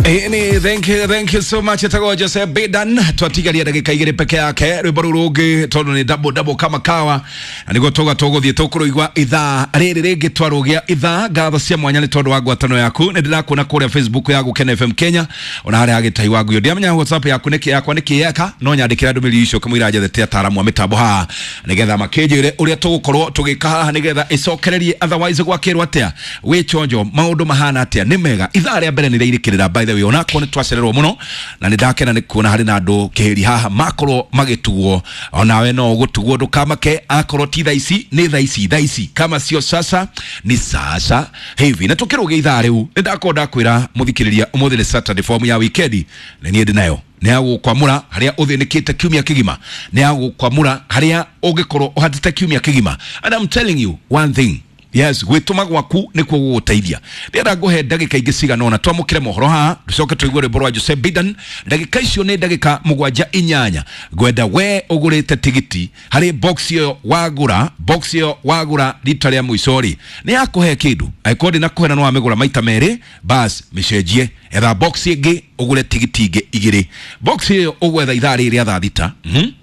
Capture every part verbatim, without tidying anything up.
Ĩni, thank you, thank you so much. Etagwo Jose Bidan. Twatigaria ndagĩka igĩrĩ peke yake. Rwĩmbo rũu rũngĩ tondũ nĩ double double kama kawa, na nĩguo tũga tũgũthiĩ tũkũrũigua ithaa rĩrĩ rĩngĩ twarũgĩa ithaa. Ngatho cia mwanya nĩ tondũ wa ngwatano yaku. Nĩ ndĩrakuona kũrĩa Facebook ya Gũkena F M Kenya, ona harĩa hagĩtahi wa nguyo. Ndiamenya WhatsApp yaku nĩkĩ yakwa nĩkĩ yeka, no nyandĩkĩra ndũmĩrĩri icio kamũira njethete ataaramu a mĩtambo haha nĩgetha makĩnjĩre ũrĩa tũgũkorwo tũgĩka haha nĩgetha ĩcokererie, otherwise gwakĩrwo atĩa wĩ chonjo, maũndũ mahana atĩa? Nĩ mega. Ithaa rĩa mbere nĩ rĩirĩkĩrĩra, by the way, onakorwo nĩ twacererwo mũno, na nĩ ndakena nĩ kuona harĩ na andũ kĩhĩri haha makorwo magĩtugwo. Onawe no ũgũtugwo, ndũkamake. Akorwo ti thaa ici, nĩ thaa ici, thaa ici kama sio sasa ni sasa hivi. Na tũkĩrũgĩa ithaa rĩu, nĩ ndakorwo ndakwĩra mũthikĩrĩria, ũmũthĩ nĩ Saturday, form ya wikendi na niĩ ndĩ nayo nĩ ya gũkwamũra harĩa ũthĩnĩkĩte kiumia kĩgima, nĩ ya gũkwamũra harĩa ũngĩkorwo ũhatĩte kiumia kĩgima. And I'm telling you one thing, yes, gwĩtũma gwaku nĩkuo gũgũteithia. Ndĩrenda ngũhe ndagĩka ingĩ cigana ũna twamũkĩre mohoro haha, tũcoke tũigue rwĩmbo rwa Jose Bidan. Ndagĩka icio nĩ ndagĩka mũgwanja inyanya. Ngwenda we ũgũrĩte tigiti harĩ box ĩyo wagũra, box ĩyo wagũra rita rĩa mũico rĩ, nĩ yakũhe kĩndũ. Angĩkorwo ndĩnakũhe na nĩ wamĩgũra maita merĩ, bas mĩcenjie, etha box ĩngĩ, ũgũre tigiti ingĩ igĩrĩ. Box ĩyo ũgwetha ithaa rĩrĩ rĩa thaa thita. mm -hmm.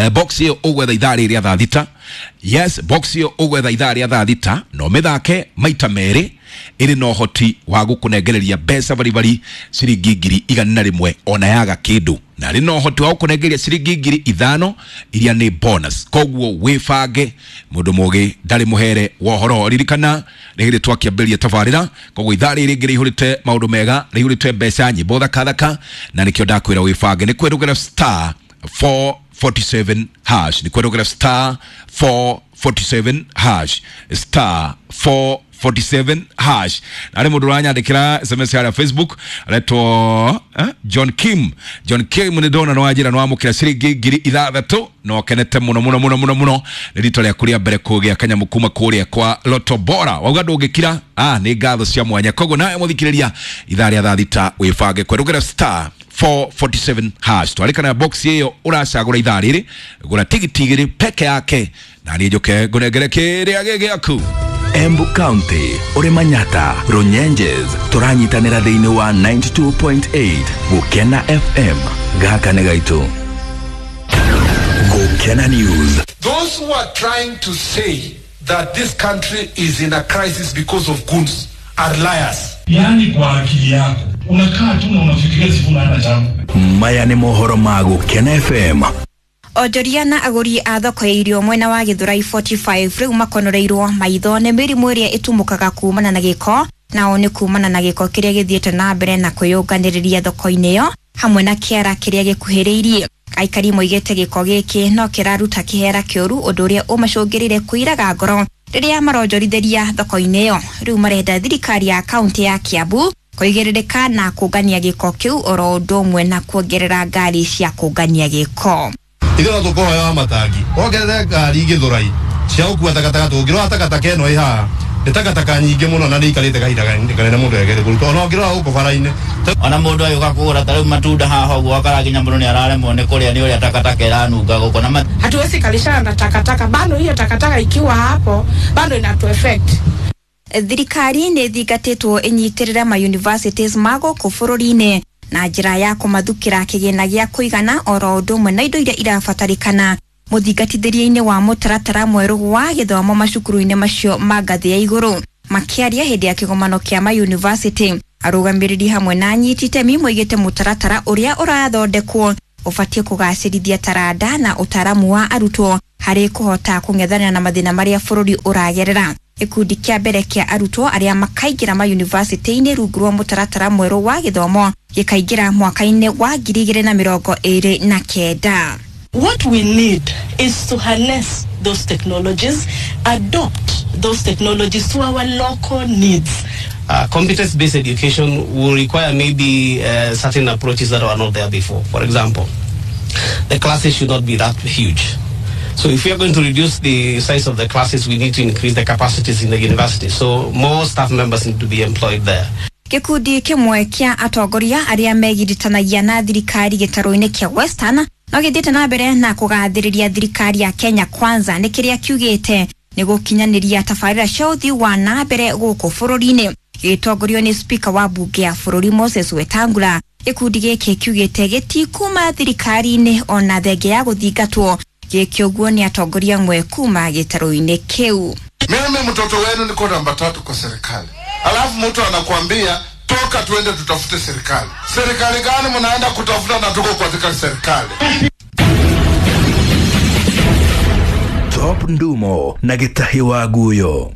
Box ĩyo ũgwetha ithaa rĩrĩ rĩa thaa thita. Yes, box ĩyo ũgwetha ithaa rĩa thaa thita no mĩthake maita merĩ, ĩrĩ na ũhoti wa gũkũnengereria mbeca baribari ciringi ngiri igana na rĩmwe ona yaga kĩndũ, na rĩ na ũhoti wa gũkũnengereria ciringi ngiri ithano iria nĩ bonus. Koguo wĩbange, mũndũ mũgĩ ndarĩ mũhere wa ũhoro. Ririkana nĩ hĩndĩ twakĩambĩrĩria tabarĩra, koguo ithaa rĩrĩ rĩngĩ rĩihũrĩte maũndũ mega, rĩihũrĩte mbeca, nyĩmbo thakathaka, na nĩkĩo ndakwĩra wĩbange. Nĩ kwĩrũgĩra star four forty-seven hash, ni kwenda star four forty-seven hash, star four forty-seven hash. Na ari mundu uranyandikira S M S ya Facebook aretwo eh? John Kim. John Kim ni ndona no wajira no amukira ciringi ngiri ithathatu no kenete muno muno muno muno muno ni rito rĩa kuria mbere kugia kanyamu kuma kuria kwa Lotto Bora. Wauga ndungikira, ah, ni ngatho cia mwanya. Koguo nawe muthikiriria ithaa rĩa thaa thita wibange kwerugera star four forty-seven hash. Twarikana box iyo uracagura ithaa rĩrĩ, gura tigiti igĩrĩ peke yake na niĩ njoke ngũnengere kĩrĩa gĩ gĩaku. Embu County, uri Manyata, Runyenjes, turanyitanĩra thĩinĩ wa ninety-two point eight Gũkena F M. Gaka nĩ gaitũ. Gũkena News. Those who are trying to say that this country is in a crisis because of goons are liars. Yani kwa akili yako unakaa tu na unafikiria Sifuna hana chama. Maya nĩ mohoro ma Gũkena F M. Onjoria na agũri a thoko ya irio mwena wa Gĩthũrai forty-five rĩu makonoreirwo maitho nĩ mĩrimũ ĩrĩa ĩtumũkaga kumana na gĩko, nao nĩ kumana na gĩko kĩrĩa gĩthiĩte na mbere na kwĩyũnganĩrĩria thoko-inĩ ĩyo hamwe na kĩara kĩrĩa gĩkuhĩrĩirie. Aikari moigĩte gĩko gĩkĩ no kĩraruta kĩhera kĩũru, ũndũ ũrĩa ũmacũngĩrĩire kũiraga ngoro rĩrĩa maronjorithĩria thoko-inĩ ĩyo. Rĩu marenda thirikari ya kaunti ya Kiambu kũigĩrĩrĩka na kũngania gĩko kĩu oro ũndũ ũmwe na kuongerera ngari cia kũngania gĩko. Ithuĩ no tũkũhoya matangi wongerere ngari Gĩthũrai cia gũkua takataka, tũngĩrora takataka ĩno ĩ haha nĩ takataka nyingĩ mũno na nĩ ikarĩte kahinda kanene mũndũ egerie kũruta, ona ũngĩrora gũkũ bara-inĩ. Ona mũndũ agĩũka kũgũra ta rĩu matunda haha ũguo akara nginya mũndũ nĩ araremwo nĩ kũrĩa nĩ ũrĩa takataka ĩranunga gũkũ na ma- Hatuwezi kalishana na takataka bado, hiyo takataka ikiwa hapo bado inatu effect. Thirikari nĩ ĩthingatĩtwo ĩnyitĩrĩre ma universities ma gũkũ bũrũri-inĩ na njĩra ya kũmathukĩra kĩgĩna gĩa kũigana oro ũndũ ũmwe na indo iria irabatarĩkana mũthingatithĩria-inĩ wa mũtaratara mwerũ wa gĩthomo macukuru-inĩ macio ma ngathĩ ya igũrũ. Makĩaria hĩndĩ ya kĩgomano kĩa ma university, arũgamĩrĩri hamwe na anyiti itemi moigĩte mũtaratara ũrĩa ũrathondekwo ũbatiĩ kũgacĩrithia taranda na ũtaaramu wa arutwo harĩ kũhota kũng'ethanĩra na mathĩna marĩa bũrũri ũragerera. Gĩkundi kĩa mbere kĩa arutwo arĩa makaingĩra ma university-inĩ rungu rwa mũtaratara mwerũ wa gĩthomo gĩkaingĩra mwaka-inĩ wa ngiri igĩrĩ na mĩrongo ĩrĩ na kenda. What we need is to harness those technologies, adopt those technologies to our local needs. Uh, competence-based education will require maybe uh, certain approaches that were not there before. For example, the classes should not be that huge. So if we are going to reduce the size of the classes, we need to increase the capacities in the university. So more staff members need to be employed there. Gĩkundi kĩmwe kĩa atongoria arĩa megiritanagia na thirikari gĩtarũ-inĩ kĩa Western no gĩthiĩte na mbere na kũgathĩrĩria thirikari ya Kenya Kwanza nĩ kĩrĩa kiugĩte nĩ gũkinyanĩria tabarĩra cia ũthii wa na mbere gũkũ bũrũri-inĩ. Gĩgĩtongorio nĩ spika wa mbunge ya bũrũri Moses Wetangula, gĩkundi gĩkĩ kiugĩte gĩtikuma thirikari-inĩ ona thenge ya gũthingatwo. Gĩkĩ ũguo nĩ atongoria amwe kuma gĩtarũ-inĩ kĩu. Mimi mtoto wenu niko namba tatu kwa serikali, alafu mtu anakuambia toka tuende tutafute serikali. Serikali gani mnaenda kutafuta na tuko katika serikali? Top Ndumo na Gitahi wa Guyo.